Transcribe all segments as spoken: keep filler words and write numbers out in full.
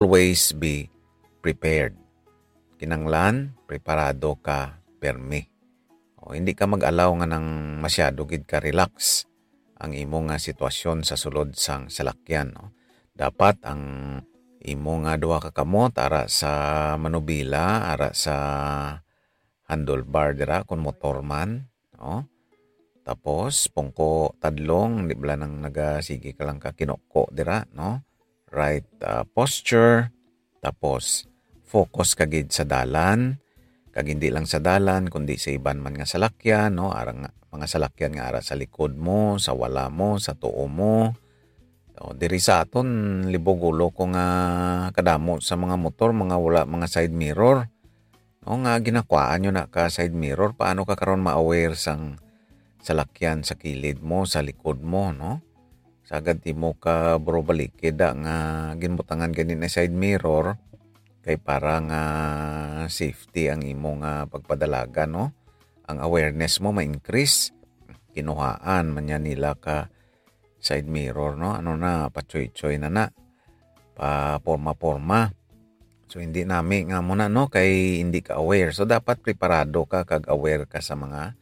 always be prepared. Kinanglan, preparado ka permi. O, hindi ka mag-allow nga nang masyado gid ka relax ang imo nga sitwasyon sa sulod sang salakyan, no? Dapat ang imo nga duha ka kamot ara sa manubila, ara sa handlebar dira kung motor man, no? Tapos, pungko tadlong, di bala nang nagasige ka lang ka kinuko dira, no? Right, ah, posture. Tapos, focus ka gid sa dalan. Kag hindi lang sa dalan, kundi sa iban man nga salakyan, no? Arang nga, mga salakyan nga ara sa likod mo, sa wala mo, sa tuo mo. O, diri sa aton, libog ulo ko nga kadamo sa mga motor, mga wala, mga side mirror. No, nga ginakuhaan nyo na ka side mirror, paano ka karon ma-aware sang salakyan sa kilid mo, sa likod mo, no? Sagad timo ka buro balikid da nga ginbutangan gani na side mirror kay para nga safety ang imo nga pagpadalagan, no? Ang awareness mo ma-increase. Kinuhaan man niya nila ka side mirror, no? Ano na, patsoy-tsoy na na. Pa forma-forma. So, hindi nami nga mo na, no? Kay hindi ka aware. So, dapat preparado ka kag aware ka sa mga,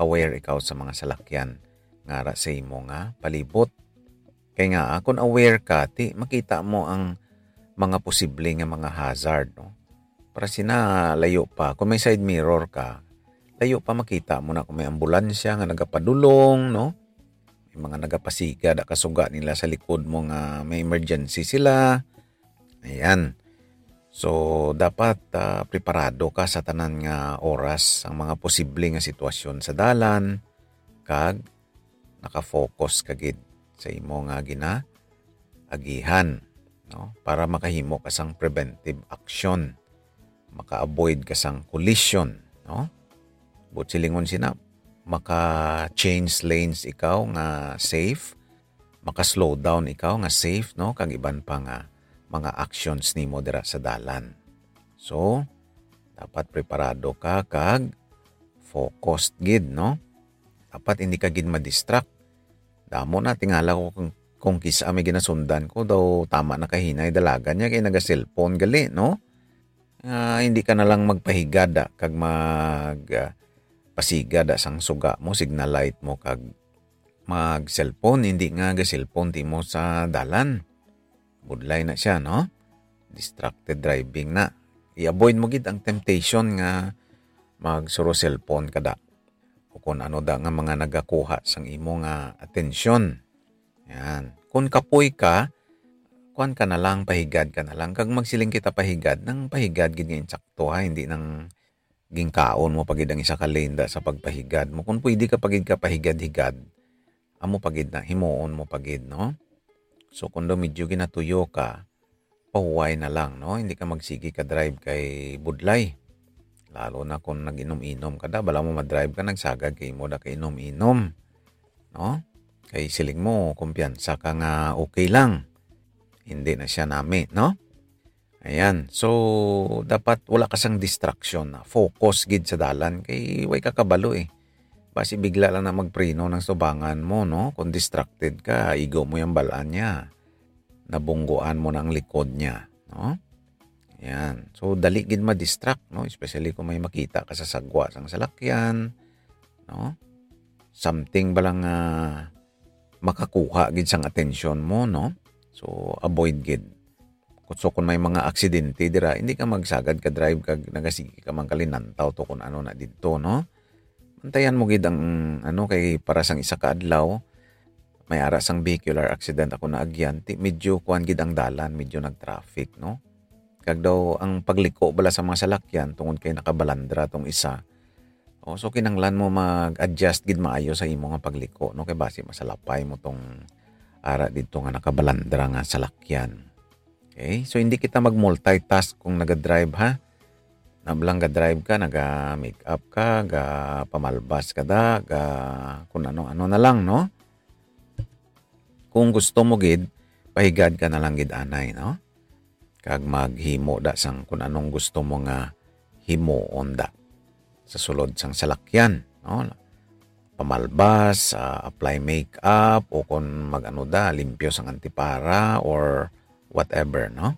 aware ikaw sa mga salakyan nga ara sa imo nga palibot. Kay nga, ah, kung aware ka, ti, makita mo ang mga posible nga mga hazard, no? Para sina layo pa, kung may side mirror ka, layo pa makita mo na kung may ambulansya nga nagapadulong, no? May mga nagapasiga da kasuga nila sa likod mo nga may emergency sila. Ayan. So, dapat, ah, preparado ka sa tanan nga oras, ang mga posible nga sitwasyon sa dalan, kag nakafocus ka gid sa imo nga ginaagihan, no? Para makahimo ka sang preventive action, maka-avoid ka sang collision, no? Buot silingon sina, maka-change lanes ikaw nga safe, maka-slow down ikaw nga safe, no? Kag iban pa nga mga actions nimo dira sa dalan. So, dapat preparado ka kag focused gid, no? Dapat hindi ka gid ma-distract. Damo na, tingala ko kung, kung kis-a may ginasundan ko, daw tama na kahinay dalagan niya kay naga-cellphone gali, no? Ah, hindi ka na lang magpahigad, ah, kag mag, ah, pasigad, ah, sang suga mo, signal light mo, kag mag-cellphone, hindi nga ga-cellphone ti mo sa dalan. Budlay na siya, no? Distracted driving na. I-avoid mo gid ang temptation nga magsuro cellphone ka da. O kung ano da nga mga nagakuha sang imo nga atensyon. Yan. Kung kapoy ka, kuan ka na lang, pahigad ka na lang. Kag magsiling kita pahigad, nang pahigad gid nga insakto, ha, hindi nang ginkaon mo pa gid ang isa ka lane da sa pagpahigad mo. Kung pwede ka pa gid ka pahigad-higad, amo pa gid na, himuon mo pa gid, no? So, kung daw medyo ginatuyo ka, pahuway na lang, no? Hindi ka magsigi ka drive kay budlay. Lalo na kung nag-inom-inom ka da, bala mo madrive ka, nagsagad kay imo da kainom-inom, no? Kay siling mo, kumpiyansa ka nga okay lang. Hindi na siya nami, no? Ayan. So, dapat wala ka sang distraction na. Focus gid sa dalan. Kay way ka kabalo eh. Basi bigla lang na magpreno ng subangan mo, no? Kung distracted ka, igo mo yung balaan niya. Nabungguan mo na ang likod niya, no? Ayan. So, dali gid ma-distract, no? Especially kung may makita ka sa sagwa sang salakyan, no? Something ba lang, ah, makakuha gid sang atensyon mo, no? So, avoid gid. So, kung may mga aksidente dira, hindi ka magsagad ka drive kag nagasige ka man kalinantaw to kung ano na didto, no? Bantayan mo gid ang, ano, kay para sang isa ka adlaw, may ara sang vehicular accident ako naagyan, ti medyo kuan gid ang dalan, medyo nag-traffic, no? Kag daw ang pagliko bala sa mga salakyan tungod kay nakabalandra tong isa. O, so kinahanglan mo mag-adjust gid maayo sa imo nga pagliko, no? Kay basi masalapay mo tong ara didto nga nakabalandra nga salakyan. Okay? So, hindi kita mag-multitask kung naga-drive, ha? Nablang ga-drive ka, naga-make up ka, ga-pamalbas ka da, ga-, kung ano-ano na lang, no? Kung gusto mo gid, pahigad ka na lang gid anay, no? Kag maghimo da sang kung anong gusto mo nga himuon da sa sulod sang salakyan, no? Pamalbas, ah, apply makeup, o kung mag-ano da, limpyo sang antipara or whatever, no?